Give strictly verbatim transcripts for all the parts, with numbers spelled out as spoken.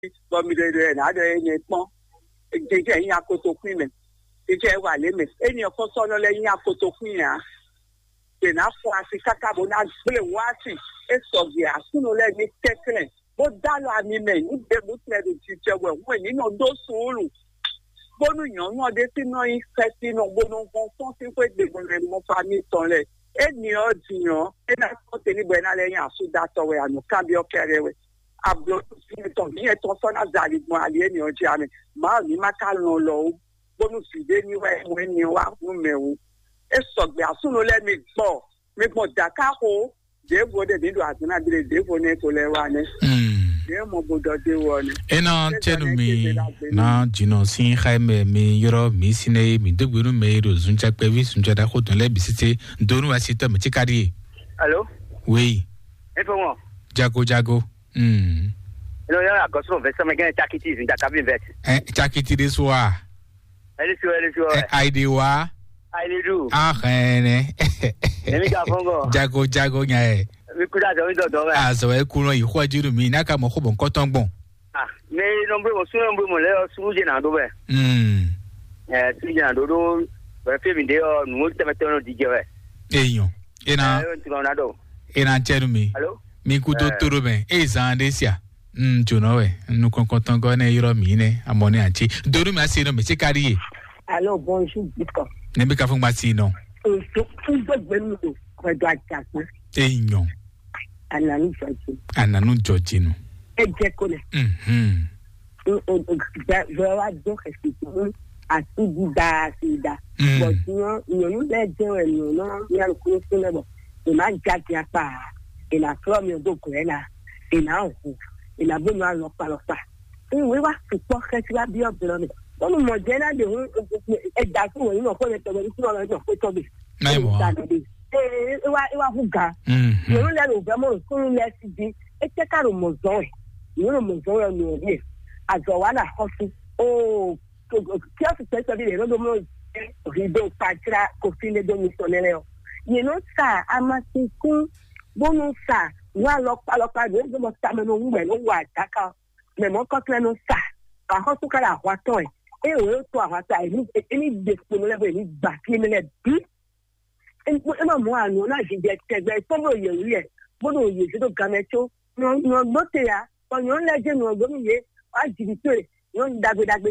Bɔ mi ɖe ɖe nǎ ɖɔ énɛ́ kpɔ́n. Jɛjɛ nyí akotokún mɛ. Jɛjɛ wà lé mɛ. Éni ɔkɔsɔnɔ lɛ́ɛ nyí akotokún nya. Ɖe ná fɔ asi káká bó ná gblé wá asi. É sɔgbe asúnɔ lɛ́ɛ ní kɛnklɛ́n bó dó alɔ ami mɛ ní ɖěbǔ tɛn ɖo jijɛ wɛ hwɛ ní nɔ ɖó suúlu. Bónú nyɔ̌nu ɔ́ ɖésú nɔ nyí xɛsinɔ bó nɔ hɔn sɔ́n sín xwé ɖěbǔ lɛ mɔ famíi tɔn lɛ́ɛ. Éni ɔ́ din ɔ́, é ná kpɔ́n te ní bɔ é ná lɛ́ nyí asúdatɔ́ wɛ, anǔkanbyɔ́ kɛ́ɖɛ́ wɛ. Ablɔ̌ tɔn mǐ yɛn tɔn sɔ́ ná za ali gbɔn ali énɛ́ ɔ́ jí ǎ mɛ. Mawu ní ma ka lɔn lɔ ó, bónú vǐ ɖé ní wɛ mɔ énɛ́ ɔ́ wá nú mɛ ó. É sɔgbe asúnɔ lɛ́ɛ mi gbɔ, mi gbɔn dǎkáxo, ɖěvo ɖé mǐ ɖo azɔ̌ ná ɖe ɖěvo nɛ́ ko lɛ́ wá nɛ́. Ɖě mɔ bo ɖɔ dé wɔ nɛ́. Ena cɛnu mi na jinɔ sin xaimɛ mi yɔrɔ mi sine mi dogbe nu mɛ ɖo zunca kpɛvi zunca ɖaxo dɔn lɛ bisite donu asi tɔ mi tsi ka ɖi. Alo. Oui. Efo ŋɔ. Jago jago. Hmm. Eno yɔ agɔsoro vɛsɛ mɛ gɛn cakiti zun jakabi vɛt. Eh, cakiti de so a. Eli so eli so. Eh, aide wa. Aide du. Ah, eh, ne. Emi ka fɔngɔ. Jago jago nya e. Mi kuda zɔ mi dɔdɔ mɛ. Ah, zɔ e kunɔ yi xɔ juru mi na ka mɔ xɔ bɔ nkɔtɔn gbɔn. Ah, mɛ nɔmbre mɔ sunɔ nɔmbre mɔ lɛ sunnu jɛ na do mɛ. Hmm. Eh, sunnu jɛ na do do. Bɛ fi mi de ɔ nu tɛmɛ tɛmɛ di jɛ wɛ. Eyan. Ena. Eh, yo ntuma na do. Ena cɛnu mi. Alo. Mi ku do toro mɛ. E zan de sia. Mm, jonɔ wɛ. Nu kɔnkɔntɔn gɔ ne yɔrɔ mi ne. Amɔ ne ati. Donu mi asi no mi se kari ye. Alo, bonjour, Victor. Ne bi ka fún gba si nɔ. Oṣù fún gbogbo mi o, kọjá àjàgbé. Eyan. Ananu jọjì. Ananu jọjì nu. Ẹ jẹ́ kó lẹ̀. Mhm. Bẹ́ẹ̀ wá dún ẹ̀sìn tó ní àti dídá àti ìdá. Mm. Bọ̀ tí wọ́n ìyọ̀nù lẹ́ẹ̀ jẹ́ ẹ̀yìn náà ní alùpùpù fún lẹ́bọ̀. Ìmá jáde apá, ìlà fúlọ́ mi ọdún kò ẹ́ la, ìlà òkú, ìlà bónú alọ́pàlọ́pà. Ìwé wá sùpọ̀ kẹ́sí wá bí ọ̀bẹ̀rẹ̀ mi. Wọ́n mú mọ̀ jẹ́ náà dè hún ẹ̀dá fún wọn nínú ọ̀pọ̀ yẹn tọ̀gbọ̀n ní fún ọ̀rọ̀ ẹ̀dá ọ̀pọ̀ tọ̀gbẹ̀. Náà mọ̀ wá. Ìwà ìwà hùgà. Mhm. Ìyọ̀nù lẹ́nu ò fẹ́ mọ̀ sún lẹ́ sí di. É tẹ́ ká ló mọ̀ zọ́n ẹ̀. Ìyọ̀nù mọ̀ zọ́n ẹ̀ nù ọ̀rí ẹ̀. Àzọ̀ wà là kọ́ sí. Ó kí ɔ́ sì tẹ́ sọ́dí rẹ̀ lọ́dọ̀ mọ́ rí dó pàjírà kò fi lé dó mi sọ lẹ́lẹ́ ɔ. Yě nɔ sa amasikún bónú sa wà lọ́pàlọ́pà ló ń gbọ́ tamẹ́ ló ń wẹ̀ ló wà dáká ɔ. Mɛ mɔ kɔklɛ nɔ sa. Axɔ́súkálà ahwatɔn ɛ. Eye wòye tó ahwatɔn ɛ ní ení de kponu lɛ bɔ ení gbà fi mi lɛ bí. É má mɔ àná náà jijɛ tɛgbɛ tɔn bó yẹ wúyɛ bó ɖo yě zé ɖó gamɛ có. Nɔ gbó te ya, bɔ nyɔ̌nu lɛ́ɛ jɛ nɔ gbó nú yě wá jǐ tó e nyɔ̌nu ɖagbe ɖagbe.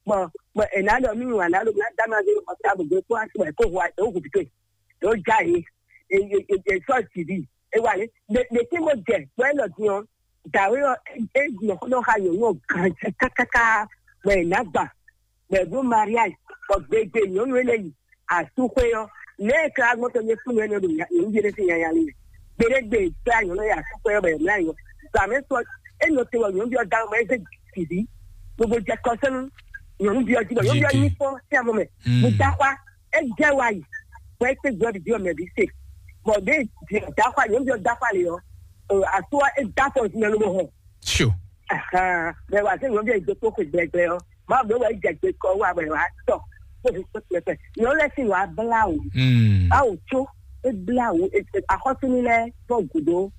Bɔ bɔ è nǎ ɖɔ nú wǎn ná ɖo ná dá ma zé xɔ tábù gbé kó así wɛ kó hu ɛ ó hu bìtó è ó já yě è sɔ́ jì bì. É wà lé ɖe tí mo jɛ bɔ é lɔ din ɔ dàwé ɔ é nɔ xɔ nɔ xa yòówù ɔ gǎn kákáká bɔ è nǎ gbà bɔ è bló mariage bɔ gbegbe nyɔ̌nu énɛ́ yi asúxwé ɔ́ lě e ka gbɔn tɔn nyɛ fún nyɛ ɖo nyɔ̌nu ɖé sín nyanya lé gbeɖégbe fɛ nyɔ̌nu ya asúxwé ɔ́ bɔ è mlá yɔ gbàmɛ sɔ é nɔ te wɔ nyɔ̌nu ɔ́ da mɔ é zé tìví gbogbo jɛ kɔsɛnu nyɔ̌nu ɔ́ jí bɔ nyɔ̌nu ɔ́ nyí fɔ sí amɔ mɛ mo da xwa é jɛ wa yi bɔ é kpé gbɔ ɖiɖi ɔmɛ bí se bɔ ɖé di da xwa nyɔ̌nu ɔ́ da xwa lé ɔ aso ɔ́ é da fɔ zinɛ ló bɔ hɔn Sure. Bɛ wa se nyɔnu bɛ do kpokpo gbɛgbɛ ɔ ma bɛ wa jɛ gbe kɔ wa bɛ wa tɔ kpokpo kpokpo kpokpo nyɔnu lɛ si wa bla o Mm. Awo tso e bla o axɔsinu lɛ fɔ gudo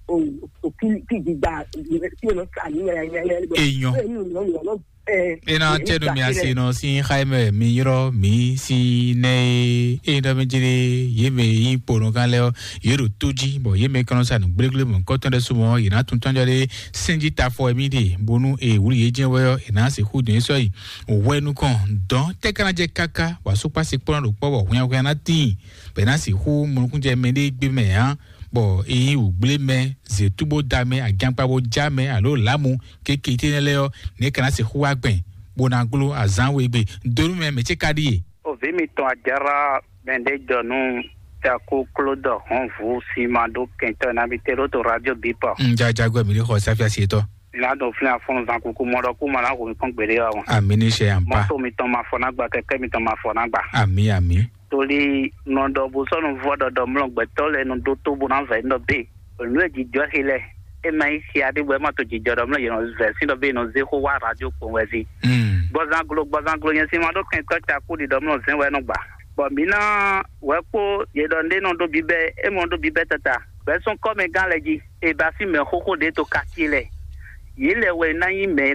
o o ki ki gbigba ki o nɔ ka ni yɛlɛ yɛlɛ bɔ Enyo. E nu nyɔnu nyɔnu ɛ Ena e tɛnu mi gbà ase nɔ si xaimɛ mi yɔrɔ mi si nɛ e e ɖɔ mi jere ye mɛ yi kponɔ kan lɛ ɔ ye ɖo to jí bɔ ye mɛ kɔnɔ sa nu gblegble mɔ kɔtɔn ɖe sumɔ ye na tun tɔnjɔ ɖe Sɛnji tafɔ emi ɖe bónú e wǔ yě jɛ́n wɛ ɔ́, è nǎ sixú dɔn yě sɔ́ yi hwɛ nukɔn dɔn tɛ́ ka ná jɛ káká wǎ só kpá se kplɔ́n ɖo kpɔ́ bɔ hwɛnhwɛn ná tíin, bɔ è nǎ sixú mɔ nukúnnú jɛ mɛɖée gbé mɛ ǎ, bɔ é nyí wǔgblé mɛ, zětú bó da mɛ, agyankpa bó já mɛ, alo lǎmu kéke tɛ́nɛ́ lɛ́ɛ ɔ́, nɛ̌ ka ná sixú wá gbɛn, bó ná gló azǎn we gbe? Donu mɛ mɛ ce ka ɖíe. Ovi mitɔn Ajara mɛɖejɔnu Jaku Klodɔ Hɔnvu si ma ɖó kɛntɔ́ nabí te ɖó to radio bipɔ. Ŋ jajagbɛ mi ɖi xɔ Safia si tɔ. Ina ɖo flin afɔnu zan kuku mɔ ɖɔ kú ma ná hu mi kpɔn gbeɖé wa wɔn. Ami ní ṣe yàn pa. Mɔto mitɔn ma fɔ ná gba kɛkɛ mitɔn ma fɔ ná gba. Ami ami. Torí nɔ ɖɔ bó sɔnu vɔ ɖɔɖɔ mlɔ gbɛtɔ lɛ nɔ ɖó tó bó ná vɛ nɔ bé. Nǔ e jijɔ xi lɛ e ma yi si aɖé bɔ e ma to jijɔ ɖɔ mlɔ yɛn nɔ vɛ sí ɖɔ bé nɔ zé xó wá radio kpɔn wɛ zi. Gbɔzanglo gbɔzanglo nyɛ si ma ɖó kɛntɔ ca kú ɖi ɖɔ mlɔ zɛn wɛ nɔ gba. Bɔ mǐ ná wɛ kpó yě ɖɔ ɖé nɔ ɖó bíbɛ é mɔ ɖó bíbɛ tata bɛ́ sɔn kɔ́mɛgán lɛ jí. E ba sí mɛ xóxó ɖě to quartier lɛ. yě lɛ́ wɛ ná nyí mɛ e